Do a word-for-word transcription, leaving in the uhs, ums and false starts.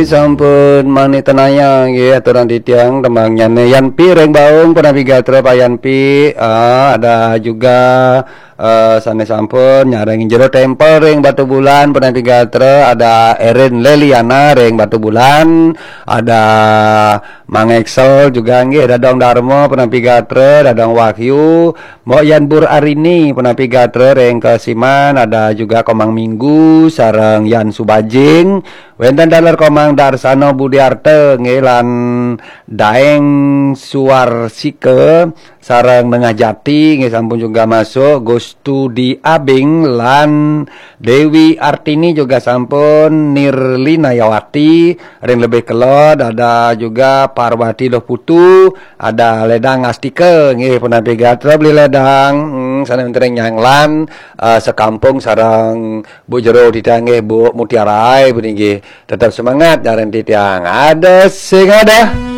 Sampun mani tenaya nggih aturan titiang tembangnyané Yanpi ring Baung punapi gatra Pak Yanpi. Ah, ada juga eh, sané sampun nyarengin Jero Tempel ring Batubulan punapi gatra, ada Erin Leliana ring Batubulan, ada Mang Excel juga nggih Dadong Darma punapi gatra, Dadong Wahyu, Mbok Yan Bur Arini punapi gatra ring Kesiman, ada juga Komang Minggu sareng Yan Subajing, wénten taler Komang Darsano Budiarta nggih lan Daeng Suarsika sareng Nengah Jati nggih sampun juga masuk, Gustu di Abing lan Dewi Artini juga sampun, Nirlina Yawati, ring lebih kelod ada juga Parwati Doh Putu, ada Ledang Astika nggih punapi gatra Beli Ledang, hmm, sané wénten ring Nyanglan, eh, sekampung sareng Bu Jero Dita nggih, Bu Mutiara, puniki tetap semangat nyarengin titiang. Ada sing ada.